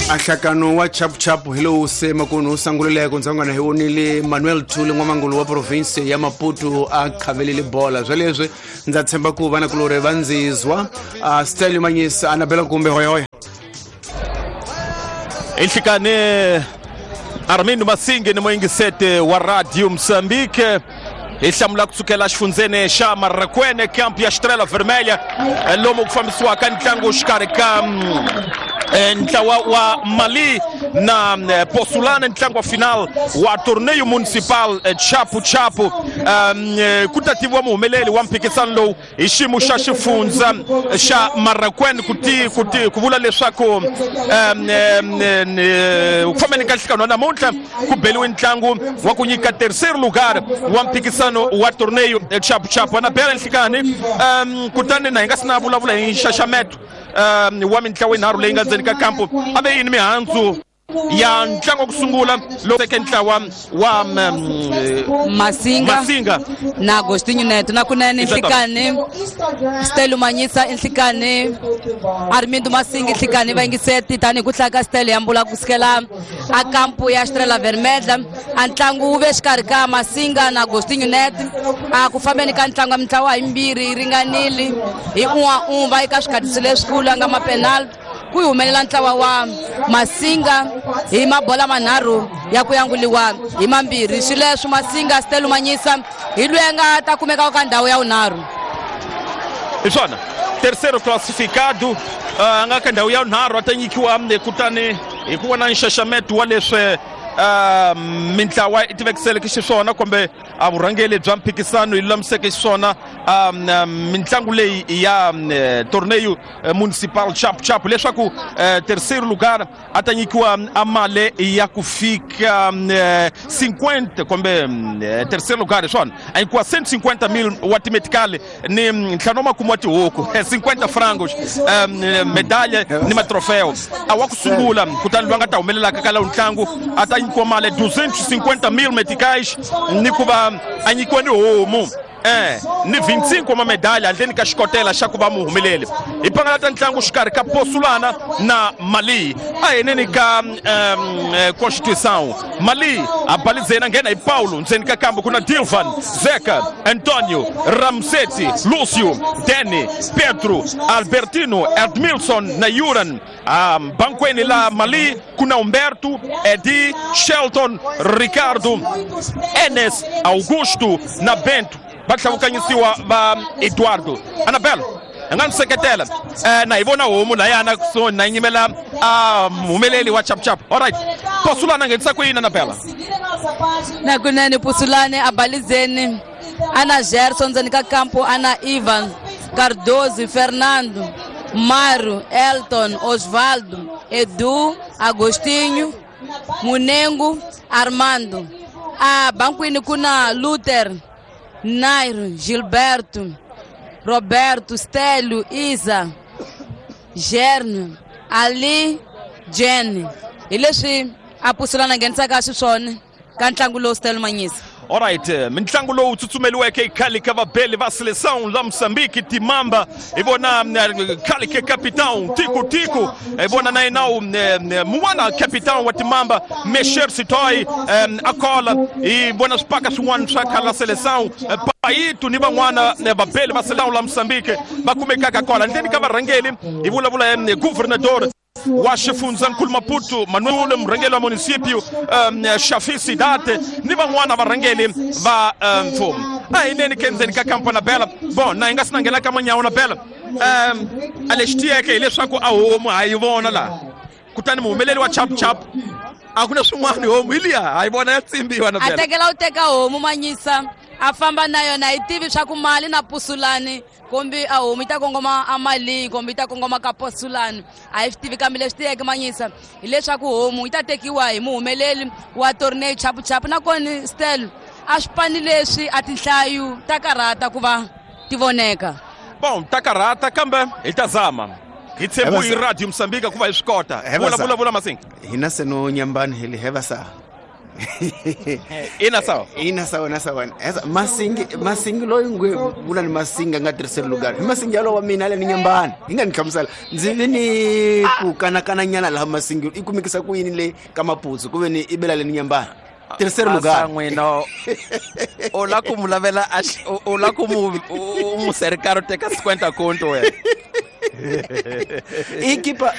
Ahlakano wa chapuchapu hi lowu se makunu wu sangulileko ndzangwana hi vonile Manuel Thuli n'wamangulu wa province ya Maputo a khavelile bola. Sweleswi ndza tshemba ku vanakulorhi va ndzizwa Stelio Manyisa Anabela kumbe hoyahoya. Inhlikane Armindo Masinge ni muyingisete wa Radio Mozambique hi hlamula kusukela xifundzeni xa Marracuene, camp ya Estrela Vermelha, lomu ku fambisiwaka ntlangu xikarhi ka ntlawa wa Mali na Posulana, ntlangu wa final wa torneio municipal Chapu Chapu. Ku ta tiviwa muhumeleli wa mphikisano lowu hi xiyimo xa xifundza xa Marracuene, ku ti ku ti ku vula leswaku ku fambeni ka nhlekano wa namuntlha ku beliwe ntlangu wa ku nyika terceiro lugar wa mphikisano wa torneio Chapu Chapu. Anabela nhlikani, kutani na hi nga si na vulavula hi nxaxameto wa mintlawa yinharhu leyi nga ndzeni ka kampo, a ve yini mihandzu ya ntlangu wa ku sungula lowu teke ntlawa wa Masinga, Masinga na Agostinho Neto na kunene nhlikani Stelo Manyisa nhlikani Armindo Masinga nhlikani vayingiseti tanihi ku hlaya ka Stelo ya mbula kusukela a kampu ya Estrela Vermelha. A ntlangu wu ve xikarhi ka Masinga na Agostinho Neto. A ku fambeni ka ntlangu ya mintlawa yimbirhi yi ringanile hi un'wa un'we va eka swikhatisi leswikulu a nga mapenalty, ku humelela ntlawa wa Masinga hi mabola manharhu ya ku yanguliwa hi mambirhi. Swileswo Masinga Stelo Manyisa hi loyi a nga ta kumeka ka ndhawu ya vunharhu. Hi swona, terceiro classificado a nga ka ndhawu ya vunharhu a ta nyikiwa, kutani hi ku vona nxaxameto wa leswi mintlawa yi tivekiseleke xiswona kumbe a vurhangeli bya mphikisano yi lulamiseke xiswona mintlangu leyi ya torneio municipal Chapu Chapu, leswaku terceiro lugar a ta nyikiwa a mali ya ku fika 50 kumbe terceiro lugar hi swona a nyikiwa 150 mil wa timetikali ni ntlhanu wa makumu wa tihuku, 50 frangos, medalha ni matrofeo. A wa ku sungula kutani loyi a nga ta humelelaka ka lawu ntlangu a ta nyikiwa mali 250 mil meticais ni ku va a nyikiwa ni homu ni 25 wa mamedalha handleni ka xikotela xa ku va muhumeleli. Hi pangalata ntlangu xikarhi ka Posulana na Mali a heneni ka Constituição. Mali a balizeni a nghena hi Paulo ndzeni ka kambu ku na Dilvan, Zeka, Antonio, Ramseti, Lucio, Deni, Pedro, Albertino, Edmilson na Yuran. Bankweni la Mali ku na Humberto, Edi, Shelton, Ricardo, Enes, Augusto na Bento, va tlhavukanyisiwa va Eduardo. Anabel a nga ni seketela na hi vona homu layana kusuhi na nyimela a muhumeleli wa Chapuchapu. Alright, Posulana nghenisa ku yini, Anabela? Na kunene Pusulane a balizeni ana Gerson ndzeni ka kampo, ana Ivan Cardoso, Fernando, Mario, Elton, Osvaldo, Edu, Agostinho, Munengo, Armando. A bankwini ku na Luther, Nairo, Gilberto, Roberto, Stelio, Isa, Gerne, Ali, Jen. Hi leswi a Pusulana nghenisaka xiswona ka ntlangu lowu, Stelo Manyisa. Alright, mintlangu lowu tsutsumeliweke hi khale ka vabeli va seleção la Moçambique Timamba, hi vona khale ka capitão Tico Tico, hi vona na yena mun'wana capitão wa Timamba Mesher Sitoy Akola, hi vona swipaka swin'wana swa khale la seleção Paito ni van'wana vabeli va seleção la Moçambique va kumekaka kwala ndleni ka varhangeli. Hi vulavula governador wa xifundzankulu Maputo Manuel, murhangeri wa municipio Shafi Sidate ni van'wana varhangeli va mfumo. A hi neni ke ndzeni ka kampo na Bela. Bon, na hi nga si na nghena ka manyawo na Bela, a lexi tiyeke hileswaku a homu ha yi vona laha, kutani muhumeleli wa Chapu Chapu a ku na swin'wana, homu hi liya ha yi vona ya tsimbiwa na A Bela. Tekela u teka homu Manyisa a famba na yona, hi tivi swa ku mali na Pusulani kumbe a homu yi ta kongoma a mali kumbe yi ta kongoma ka Posulani, a hi swi tivi, kambe leswi tiyeke Manyisa hileswaku homu yi ta tekiwa hi muhumeleli wa torneo Chapuchapu. Nakona Stel, a swipani leswi a tinhlayo ta karhata ku va ti voneka. Bon, ta karhata kambe hi ta zama, hi tshembu hi Radio Mosambika ku va hi swi kota. Vula, vula, vula Masinga. Hina se no nyambani hi li heva sa Ina sawa. Ina sawa na sawa. Esa Masingi, Masingi loyi ngwe vula ni Masingi a nga terceiro lugar. Hi Masingi yalowo wa mina le ni nyambani. Hi nga ni hlamusela. Ndzi ve ni ku kanakana nyana laha Masingi i kumekisa ku yini le ka Maputo ku ve ni i bela le ni nyambani. Terceiro lugar. N'wina u la ku mu lavela a u la ku mu u mu serikaro teka 50 conto wena. Equipa